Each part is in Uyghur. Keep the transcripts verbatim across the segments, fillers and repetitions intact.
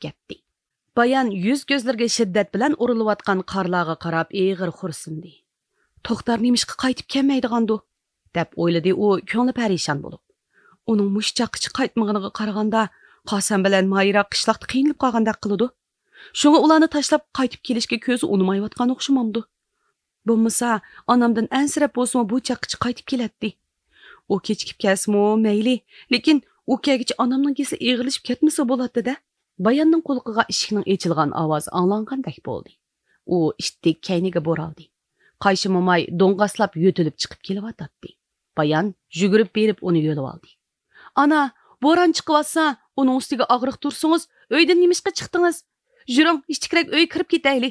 كەتتى. بايان يۈز كۆزلىرىگە شىددەت بىلەن ئۇرۇلۇۋاتقان قارلارغا قاراپ ئېغىر خورسۇندى. توختار نېمىشقا قايتىپ كەلمەيدىغاندۇ؟ دەپ ئويلىدى ئۇ كۆڭلى پەرىشان بولۇپ. ئۇنىڭ مۇشۇ چاغقىچە قايتمىغىنىغا قارىغاندا، قاسەم بىلەن مايرا قىشلاقتا قىينىلىپ قالغاندەك قىلىدۇ. شۇڭا ئۇلارنى تاشلاپ قايتىپ كېلىشكە كۆزى ئۇنىمايۋاتقان ئوخشىمامدۇ؟ بولمىسا، ئانامدىن ئەنسىرەپ بولسىمۇ بۇ چاغقىچە قايتىپ كېلەتتى. ئۇ كېچىكىپ كەلسىمۇ مەيلى، لېكىن ئۇ كەلگۈچە ئانامنىڭ كېسىلى ئېغىرلىشىپ كەتمىسە بولاتتى-دە. باياننىڭ قۇلىقىغا ئىشىكنىڭ ئېچىلغان ئاۋازى ئاڭلانغاندەك بولدى. ئۇ ئىتتىك كەينىگە بۇرالدى. قايشى موماي دوڭغاسلاپ يۆتىلىپ چىقىپ كېلىۋاتاتتى. بايان يۈگۈرۈپ بېرىپ ئۇنى يۆلىۋالدى. ئانا، بوران چىقىۋاتسا، ئۇنىڭ ئۈستىگە ئاغرىق تۇرسىڭىز، ئۆيدىن نېمىشقا چىقتىڭىز؟ يۈرۈڭ، ئىچكىرەك ئۆيگە كىرىپ كېتەيلى.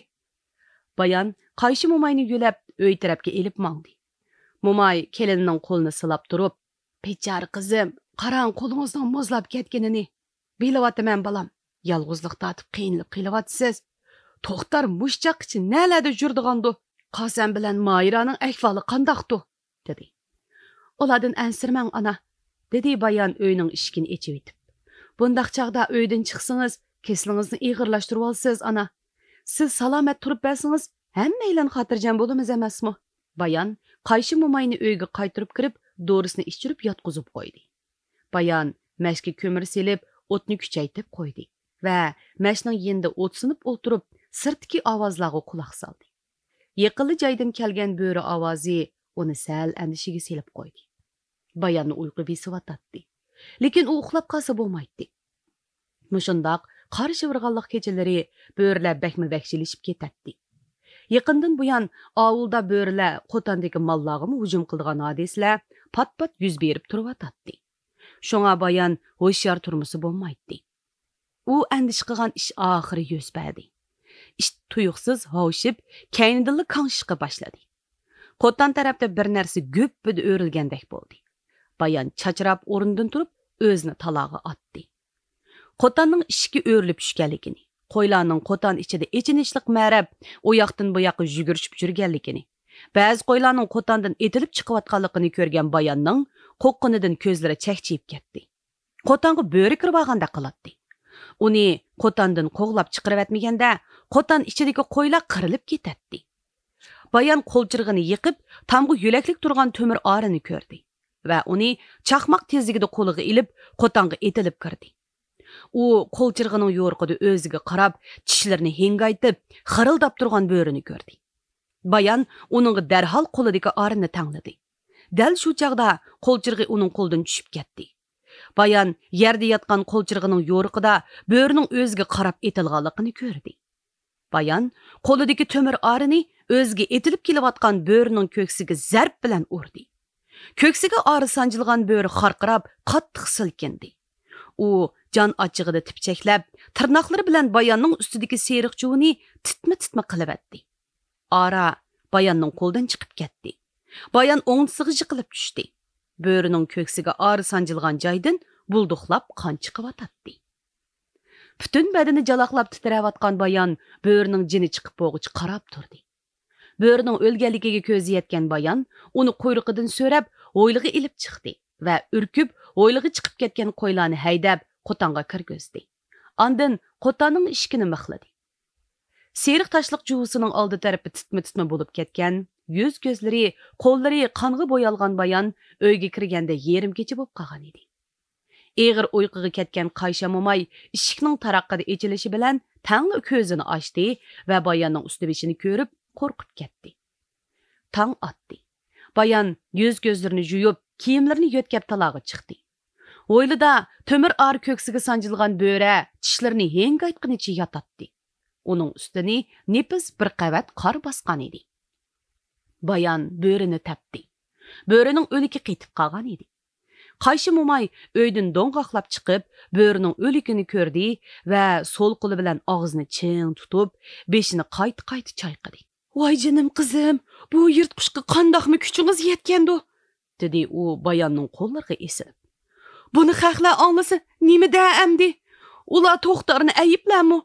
بايان قايشى موماينى يۆلەپ ئۆي تەرەپكە ئېلىپ ماڭدى. موماي كېلىنىنىڭ قولىنى سىلاپ تۇرۇپ، بىچارە قىزىم، قاراڭ قولىڭىزنىڭ مۇزلاپ كەتكىنىنى. بىلىۋاتىمەن بالام، يالغۇزلۇق تارتىپ قىينىلىپ قېلىۋاتىسىز. توختار مۇشۇ چاغقىچە نەلەردە يۈرىدىغاندۇ؟ قاسەم بىلەن ماھىرانىڭ ئەھۋالى قانداقتۇ؟ دېدى. ئۇلاردىن ئەنسىرىمەڭ ئانا، دېدى بايان ئۆينىڭ ئىشىكىنى ئېچىۋېتىپ. بۇنداق چاغدا ئۆيدىن چىقسىڭىز، كېسىلىڭىزنى ئېغىرلاشتۇرۇۋالىسىز ئانا. سىز سالامەت تۇرۇپ بەرسىڭىز، ھەممەيلەن خاتىرجەم بولىمىز ئەمەسمۇ؟ بايان قايشى موماينى ئۆيگە قايتۇرۇپ كىرىپ، دورىسىنى ئىچۈرۈپ ياتقۇزۇپ قويدى. بايان مەشكە كۆمۈر سېلىپ، ئوتنى كۈچەيتىپ قويدى ۋە مەشنىڭ يېنىدا ئوت سۇنۇپ ئولتۇرۇپ، سىرتتىكى ئاۋازلارغا قۇلاق سالدى. يېقىنلا جايدىن كەلگەن بۆرە ئاۋازى ئۇنى سەل ئەندىشىگە سېلىپ قويدى. باياننى ئۇيقۇ بېسىۋاتاتتى. لېكىن ئۇ ئۇخلاپ قالسا بولمايتتى. مۇشۇنداق قار شىۋىرغانلىق كېچىلىرى بۆرىلەر بەكمۇ ۋەھشىيلىشىپ كېتەتتى. يېقىندىن بۇيان ئاۋۇلدا بۆرىلەر قوتاندىكى ماللارغىمۇ ھۇجۇم قىلىدىغان ھادىسىلەر پات-پات يۈز بېرىپ تۇرۇۋاتاتتى. شۇڭا بايان ھوشيار تۇرمىسا بولمايتتى. ئۇ ئەندىشە قىلغان ئىش ئاخىرى يۈز بەردى. ئىت تۇيۇقسىز ھاۋشىپ، كەينىدىنلا كاڭشىشقا باشلىدى. قوتان تەرەپتە بىر نەرسە گۈپپىدە ئۆرۈلگەندەك بولدى. بايان چاچراپ ئورنىدىن تۇرۇپ، ئۆزىنى تالاغا ئاتتى. قوتاننىڭ ئىشىكى ئۆرۈلۈپ چۈشكەنلىكىنى، قويلارنىڭ قوتان ئىچىدە ئېچىنىشلىق مەرەپ ئۇ ياقتىن بۇ ياققا يۈگۈرۈشۈپ يۈرگەنلىكىنى، بەزى قويلارنىڭ قوتاندىن ئېتىلىپ چىقىۋاتقانلىقىنى كۆرگەن باياننىڭ قورققىنىدىن كۆزلىرى چەكچىيىپ كەتتى. قوتانغا بۆرە كىرىۋالغاندەك قىلاتتى. ئۇنى قوتاندىن قوغلاپ چىقىرىۋەتمىگەندە، قوتان ئىچىدىكى قويلار قىرىلىپ كېتەتتى. بايان قولچىرىغىنى يېقىپ، تامغا يۆلەكلىك تۇرغان تۆمۈر ئارىنى كۆردى ۋە ئۇنى چاقماق تېزلىكىدە قولىغا ئېلىپ، قوتانغا ئېتىلىپ كىردى. ئۇ قولچىرىغىنىڭ يورۇقىدا ئۆزىگە قاراپ، چىشلىرىنى ھىڭگايتىپ، خىرىلداپ تۇرغان بۆرىنى كۆردى. بايان ئۇنىڭغا دەرھال قولىدىكى ئارىنى تەڭلىدى. دەل شۇ چاغدا قولچىرىغى ئۇنىڭ قولىدىن چۈشۈپ كەتتى. بايان يەردە ياتقان قولچىرىغىنىڭ يورۇقىدا بۆرىنىڭ ئۆزىگە قاراپ ئېتىلغانلىقىنى كۆردى. بايان قولىدىكى تۆمۈر ئارىنى ئۆزىگە ئېتىلىپ كېلىۋاتقان بۆرىنىڭ كۆكسىگە زەرب بىلەن ئۇردى. كۆكسىگە ئارا سانجىلغان بۆرە خارقىراپ، قاتتىق سىلكىندى. ئۇ جان ئاچچىقىدا تىپچەكلەپ، تىرناقلىرى بىلەن باياننىڭ ئۈستىدىكى سېرىق چۇۋىنى تىتما-تىتما قىلىۋەتتى. ئارا باياننىڭ قولىدىن چىقىپ كەتتى. بايان ئوڭدىسىغا يىقىلىپ چۈشتى. بۆرىنىڭ كۆكسىگە ئارا سانجىلغان جايدىن بۇلدۇقلاپ قان چىقىۋاتاتتى. پۈتۈن بەدىنى جالاقلاپ تىترەۋاتقان بايان بۆرىنىڭ جېنى چىقىپ بولغۇچە قاراپ تۇردى. بۆرىنىڭ ئۆلگەنلىكىگە كۆزى يەتكەن بايان ئۇنى قۇيرۇقىدىن سۆرەپ، ھويلىغا ئېلىپ چىقتى ۋە ئۈركۈپ، ھويلىغا چىقىپ كەتكەن قويلارنى ھەيدەپ، قوتانغا كىرگۈزدى. ئاندىن قوتاننىڭ ئىشىكىنى مىخلىدى. سېرىق تاشلىق جۇۋىسىنىڭ ئالدى تەرىپى تىتما-تىتما بولۇپ كەتكەن، يۈز-كۆزلىرى، قوللىرى قانغا بويالغان بايان ئۆيگە كىرگەندە يېرىم كېچە بولۇپ قالغان ئىدى. ئېغىر ئۇيقۇغا كەتكەن قايشا موماي ئىشىكنىڭ تاراققىدە ئېچىلىشى بىلەن تەڭلا كۆزىنى ئاچتى ۋە باياننىڭ ئۈستى بېشىنى كۆرۈپ قورقۇپ كەتتى. تاڭ ئاتتى. بايان يۈز-كۆزلىرىنى يۇيۇپ، كىيىملىرىنى يۆتكەپ تالاغا چىقتى. ھويلىدا تۆمۈر ئارا كۆكسىگە سانجىلغان بۆرە چىشلىرىنى ھىڭگايتقىنىچە ياتاتتى. ئۇنىڭ ئۈستىنى نېپىز بىر قەۋەت قار باسقان ئىدى. بايان بۆرىنى تەپتى. بۆرىنىڭ ئۆلۈكى قېتىپ قالغان ئىدى. قايشى موماي ئۆيدىن دوڭغاقلاپ چىقىپ، بۆرىنىڭ ئۆلۈكىنى كۆردى ۋە سول قولى بىلەن ئاغزىنى چىڭ تۇتۇپ، بېشىنى قايتا-قايتا چايقىدى. «ۋاي جېنىم قىزىم، بۇ يىرتقۇچقا قانداقمۇ كۈچىڭىز يەتكەندۇ؟» دېدى ئۇ باياننىڭ قوللىرىغا ئېسىلىپ. «بۇنى خەقلەر ئاڭلىسا نېمە دەر ئەمدى؟ ئۇلار توختارنى ئەيىبلەرمۇ؟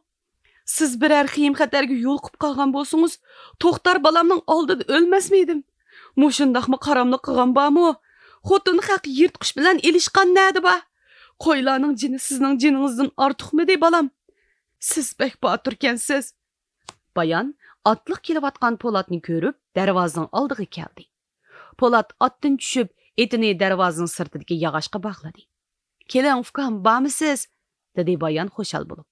سىز بىرەر خېيىم-خەتەرگە يولۇقۇپ قالغان بولسىڭىز، توختار بالامنىڭ ئالدىدا ئۆلمەسمىدىم؟ مۇشۇنداقمۇ قاراملىق قىلغان بارمۇ؟ خوتۇن خەق يىرتقۇچ بىلەن ئېلىشقان نەدە بار؟ قويلارنىڭ جېنى سىزنىڭ جېنىڭىزدىن ئارتۇقمىدى، بالام؟» سىز بەك باتۇركەنسىز. بايان ئاتلىق كېلىۋاتقان پولاتنى كۆرۈپ، دەرۋازىنىڭ ئالدىغا كەلدى. پولات ئاتتىن چۈشۈپ، ئېتىنى دەرۋازىنىڭ سىرتىدىكى ياغاچقا باغلىدى. «كېلىڭ، ئۇكام، بارمىسىز؟» دېدى بايان خۇشال بولۇپ.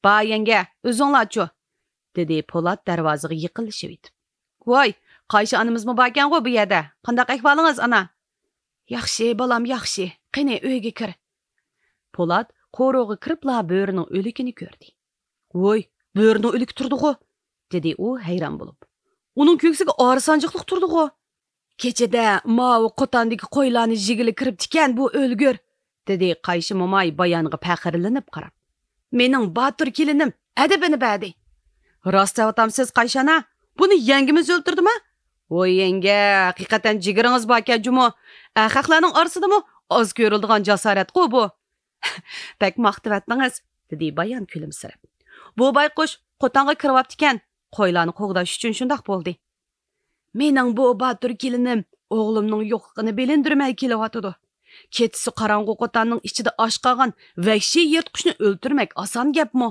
«بار، يەڭگە، ئۆزۈڭلارچۇ؟» دېدى پولات دەرۋازىغا يېقىنلىشىۋېتىپ. «ۋاي، قايشى ئانىمىزمۇ باركەنغۇ بۇ يەردە؟ قانداق ئەھۋالىڭىز، ئانا؟» «ياخشى، بالام، ياخشى. قېنى، ئۆيگە كىر.» پولات قورۇغا كىرىپلا بۆرىنىڭ ئۆلۈكىنى كۆردى. «ۋوي، بۆرىنىڭ ئۆلۈكى تۇردىغۇ!» دېدى ئۇ ھەيران بولۇپ. «ئۇنىڭ كۆكسىگە ئارا سانجىقلىق تۇردىغۇ!» «كېچىدە ماۋۇ قوتاندىكى قويلارنى يېگىلى كىرىپتىكەن بۇ ئۆلگۈر!» دېدى قايشى موماي بايانغا پەخىرلىنىپ قاراپ. «مېنىڭ باتۇر كېلىنىم ئەدىپىنى بەردى.» «راست دەۋاتامسىز، قايشى ئانا؟ بۇنى يەڭگىمىز ئۆلتۈردىما؟» «ۋوي يەڭگە، ھەقىقەتەن جىگىرىڭىز باركەن جۇمۇ. ئەخەقلەرنىڭ ئارىسىدىمۇ ئاز كۆرۈلىدىغان جاسارەتقۇ بۇ.» «بەك ماختىۋەتتىڭىز،» دېدى بايان كۈلۈمسىرەپ. «بۇ بايقۇش قوتانغا كىرىۋاپتىكەن، قويلارنى قوغداش ئۈچۈن شۇنداق بولدى.» «مېنىڭ بۇ باتۇر كېلىنىم ئوغلۇمنىڭ يوقلۇقىنى بىلىندۈرمەي كېلىۋاتىدۇ. كېچىسى قاراڭغۇ قوتاننىڭ ئىچىدە ئاچ قالغان ۋەھشىي يىرتقۇچنى ئۆلتۈرمەك ئاسان گەپمۇ؟»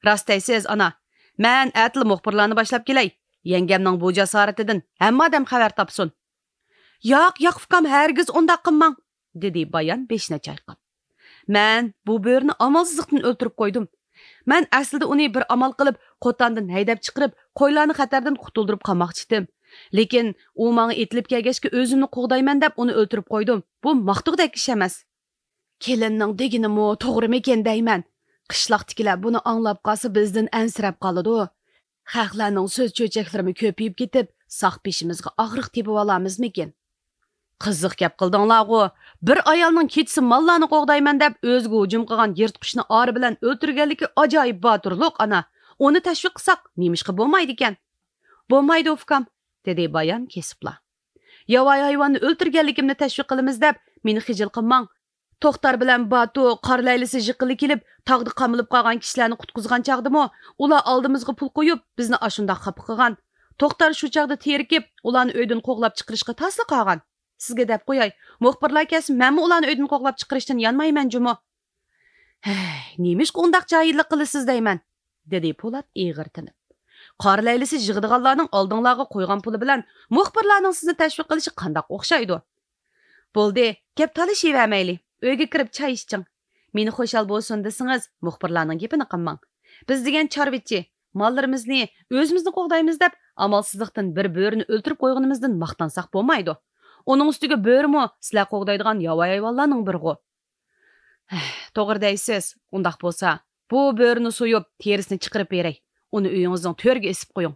«راست دەيسىز، ئانا. مەن ئەتىلا مۇخبىرلارنى باشلاپ كېلەي. يەڭگەمنىڭ بۇ جاسارىتىدىن ھەممە ئادەم خەۋەر تاپسۇن.» «ياق، ياق، ئۇكام، ھەرگىز ئۇنداق قىلماڭ.» دېدى بايان بېشىنى چايقاپ. «مەن بۇ بۆرىنى ئامالسىزلىقتىن ئۆلتۈرۈپ قويدۇم. مەن ئەسلىدە ئۇنى بىر ئامال قىلىپ، قوتاندىن ھەيدەپ چىقىرىپ، قويلارنى خەتەردىن قۇتۇلدۇرۇپ قالماقچىدىم. لېكىن ئۇ ماڭا ئېتىلىپ كەلگەچكە ئۆزۈمنى قوغدايمەن دەپ ئۇنى ئۆلتۈرۈپ قويدۇم. بۇ ماختۇقدەك ئىش ئەمەس.» «كېلىننىڭ دېگىنىمۇ توغرىمىكىن دەيمەن. قىشلاقتىكىلەر بۇنى ئاڭلاپ قالسا، بىزدىن ئەنسىرەپ قالىدۇ. خەقلەرنىڭ سۆز چۆچەكلىرىمۇ كۆپىيىپ كېتىپ، ساق بېشىمىزغا ئاغرىق تېپىۋالارمىزمىكىن؟» «قىزىق گەپ قىلدىڭلارغۇ. بىر ئايالنىڭ كېچىسى ماللارنى قوغدايمەن دەپ ئۆزىگە ھۇجۇم قىلغان يىرتقۇچنى ئارا بىلەن ئۆلتۈرگەنلىكى ئاجايىپ باتۇرلۇق، ئانا. ئۇنى تەشۋىق قىلساق نېمىشقا بولمايدىكەن؟» «بولمايدۇ، ئۇكام،» دېدى بايان كېسىپلا. «ياۋايى ھايۋاننى ئۆلتۈرگەنلىكىمنى تەشۋىق قىلىمىز دەپ مېنى خىجىل قىلماڭ. توختار بىلەن باتۇ قار لەيلىسى يېقىنلا كېلىپ، تاغدا قامىلىپ قالغان كىشىلەرنى قۇتقۇزغان چاغدىمۇ ئۇلار ئالدىمىزغا پۇل قويۇپ، بىزنى ئاشۇنداق خاپا قىلغان. توختار شۇ چاغدا تېرىكىپ، ئۇلارنى ئۆيدىن قوغلاپ چىقىرىشقا تاسلا قالغان. سىزگە دەپ قوياي، مۇخبىرلار كەلسە، مەنمۇ ئۇلارنى ئۆيدىن قوغلاپ چىقىرىشتىن يانمايمەن جۇمۇ.» «ھەي، نېمىشقا ئۇنداق جاھىللىق قىلىسىز دەيمەن؟» دېدى پولات ئېغىر تىنىپ. «قار لەيلىسى يىغىدىغانلارنىڭ ئالدىڭلارغا قويغان پۇلى بىلەن مۇخبىرلارنىڭ سىزنى تەشۋىق قىلىشى قانداق ئوخشايدۇ؟» «بولدى، گەپ تالىشىۋەرمەيلى، ئۆيگە كىرىپ چاي ئىچىڭ. مېنى خۇشال بولسۇن دېسىڭىز، مۇخبىرلارنىڭ گېپىنى قىلماڭ. بىز دېگەن چارۋىچى، ماللىرىمىزنى ئۆزىمىزنى قوغدايمىز دەپ، ئامالسىزلىقتىن بىر بۆرىنى ئۆلتۈرۈپ قويغىنىمىزدىن ماختانساق بولمايدۇ. ئۇنىڭ ئۈستىگە بۆرىمۇ سىلەر قوغدايدىغان ياۋايى ھايۋانلارنىڭ بىرىغۇ.» «ھەھ، توغرا دەيسىز. ئۇنداق بولسا، بۇ بۆرىنى سويۇپ، تېرىسىنى چىقىرىپ بېرەي. ئۇنى ئۆيىڭىزنىڭ تۆرىگە ئېسىپ قويۇڭ.»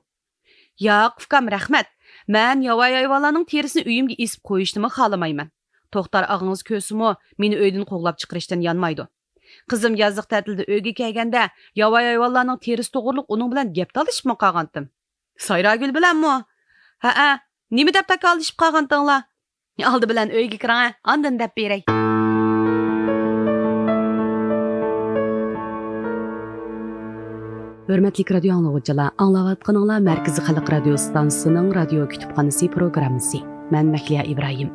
«ياق، ئۇكام، رەھمەت. مەن ياۋايى ھايۋانلارنىڭ تېرىسىنى ئۆيۈمگە ئېسىپ قويۇشنىمۇ خالىمايمەن. توختار ئاغىڭىز كۆرسىمۇ، مېنى ئۆيدىن قوغلاپ چىقىرىشتىن يانمايدۇ. قىزىم يازلىق تەتىلدە ئۆيگە كەلگەندە، ياۋايى ھايۋانلارنىڭ تېرىسى توغرۇلۇق ئۇنىڭ بىلەن گەپ تالىشىپمۇ قالغانتىم.» «سايراگۈل بىلەنمۇ؟» «ھەئە، نېمە دەپ تاكاللىشىپ قالغانتىڭلار؟ ئالدى بىلەن ئۆيگە كىرىڭە، ئاندىن دەپ بېرەي.» ھۆرمەتلىك رادىيو ئاڭلىغۇچىلار، ئاڭلاۋاتقىنىڭلار مەركىزىي خەلق رادىيو ئىستانسىسىنىڭ رادىيو كۇتۇپخانىسى پروگراممىسى. مەن مەھلىيا ئىبراھىم.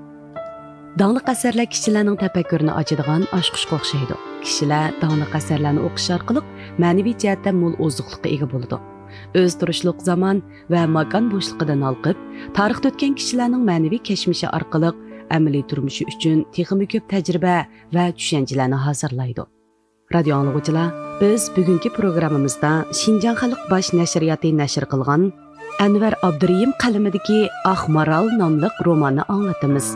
داڭلىق ئەسەرلەر كىشىلەرنىڭ تەپەككۇرىنى ئاچىدىغان ئاچقۇچقا ئوخشايدۇ. كىشىلەر داڭلىق ئەسەرلەرنى ئوقۇش ئارقىلىق مەنىۋى جەھەتتە مول ئوزۇقلۇققا ئىگە بولىدۇ. ئۆز تۇرۇشلۇق زامان ۋە ماكان بوشلۇقىدىن ھالقىپ، تارىختا ئۆتكەن كىشىلەرنىڭ مەنىۋى كەچمىشى ئارقىلىق ئەمەلىي تۇرمۇشى ئۈچۈن تېخىمۇ كۆپ تەجرىبە ۋە چۈشەنچىلەرنى ھازىرلايدۇ. رادىيو ئاڭلىغۇچىلار، بىز بۈگۈنكى پروگراممىمىزدا شىنجاڭ خەلق باش نەشرىياتى نەشر قىلغان ئەنۋەر ئابدۇرېھىم قەلىمىدىكى ئاق مارال ناملىق روماننى ئاڭلىتىمىز.